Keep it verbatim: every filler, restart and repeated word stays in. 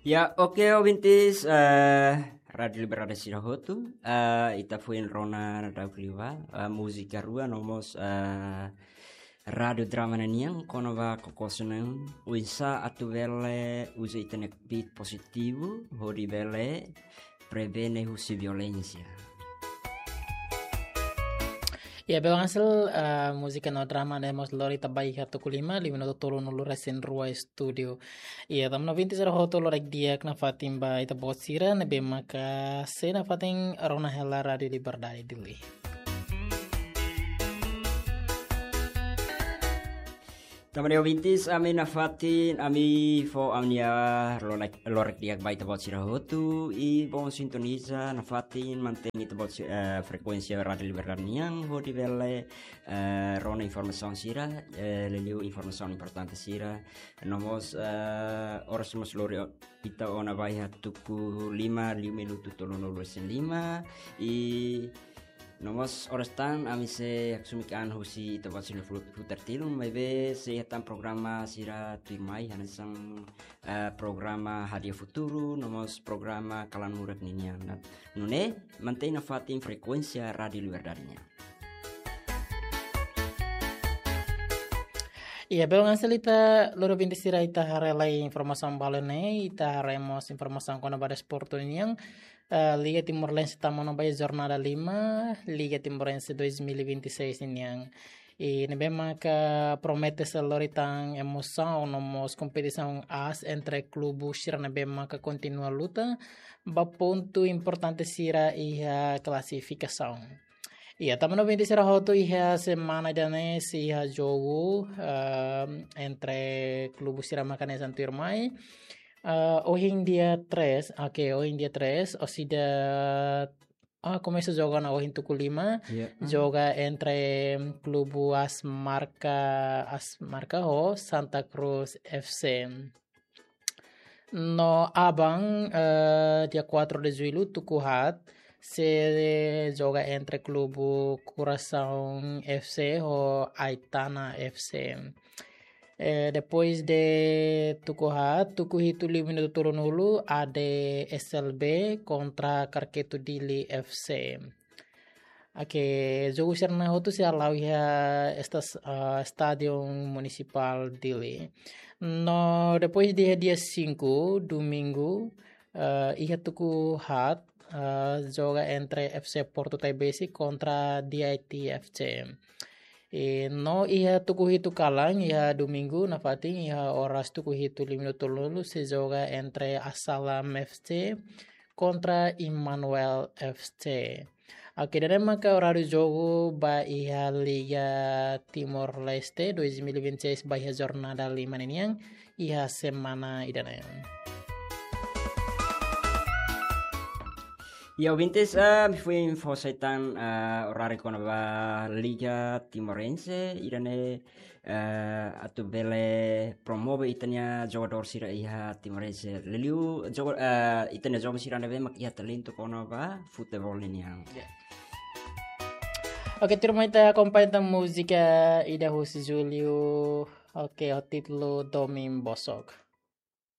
Ya, oke, ouvintes, eh, Rádio Liberdade sira hotu, eh, ita foin rona daudauk liu ba, eh, múzika rua, no mós, eh, rádio drama ninian, kona-ba kokosen oinsá atu bele uza ita-nia kbiit pozitivu, hodi bele prevene husi violénsia. Ya, belun Ansel, eh, múzika no drama ne'e mós lori ita ba iha tuku lima, lima minutu tolunulu resin rua estúdiu. Ya, tanba ouvintes sira hotu loraik di'ak nafatin ba ita-boot sira, ne'ebé maka sei nafatin rona hela Rádio Liberdade Dili. Tanba ne'e ouvintes, ami nafatin, ami fó ami-nia loraik, loraik di'ak ba ita-boot sira hotu, i bom sintoniza, nafatin mantein ita-boot si-, eh, frekuénsia Rádio Liberdade nian, hodi bele, eh, rona informasaun sira, eh, liuliu informasaun importante sira. No mós, eh, oras mós lori o-, ita ona ba iha tuku lima, lima minutu tolunulu resin lima, i no mós oras tan ami sei haksoit an husi ita-boot sira-nia fu-, futar tilun, maibé sei iha tan programa sira tuirmai, hanesan, eh, programa Hadi'a Futuru, no mós programa Kalan Murak ninian. Nune'e, mantein nafatin frekuénsia Rádio Liberdade nian. Ya, belun Ansel, ita lori ouvintes sira, ita haree lai informasaun balu ne'e, ita haree mós informasaun kona-ba desportu nian, eh, Liga Timorense tama ona ba iha jornada lima, Liga Timorense dois mil e vinte e seis nian. I ne'ebé maka promete sei lori tan emosaun no mós kompetisaun aas entre klubu sira ne'ebé maka kontinua luta ba pontu importante sira iha klasifikasaun. Ya, tanba ouvintes sira hotu, iha semana ida-ne'e sei iha jogu, ehm, entre klubu sira maka hanesan tuirmai. Eh, ohin dia tres, oke, ohin dia tres, orsida, ah, komesa jogu ona ohin tuku lima, Ya. joga entre klubu AS Marka, AS Marka ho Santa Cruz F C. No aban, eh, dia quatro de julho, tuku haat, sei joga entre klubu Coração F C ho Aitana F C. Eh, depois de tuku haat, tuku hitu lima minutu tolunulu, A D S L B kontra Karketu Dili F C. Oke, jogu sira-ne'e hotu sei hala'o iha estas-, ah, Estádiu Munisipál Dili. No depois de dia cinco, domingu, ah, iha tuku haat, ah, joga entre F C Porto Taibesi kontra D I T F C. I no iha tuku hitu kalan, iha domingu, nafatin, iha oras tuku hitu lima minutu tolunulu, sei joga entre Asalam F C kontra Emmanuel F C. Oke, ida-ne'e maka oráriu jogu ba iha Liga Timor-Leste dois mil e vinte e seis ba iha jornada lima ninian iha semana ida-ne'e. Ya, ouvintes, ah, ami foin fó sai tan, ah, oráriu kona-ba Liga Timorense, ida-ne'e, eh, atu bele promove ita-nia jogadór sira iha Timorense. Liuliu joga-, eh, ita-nia joven sira ne'ebé mak iha talentu kona-ba futeból ninian. Ya. Oke, tuirmai ita akompaña tan múzika ida husi Julio. Oke, ho títulu Domin Bosok.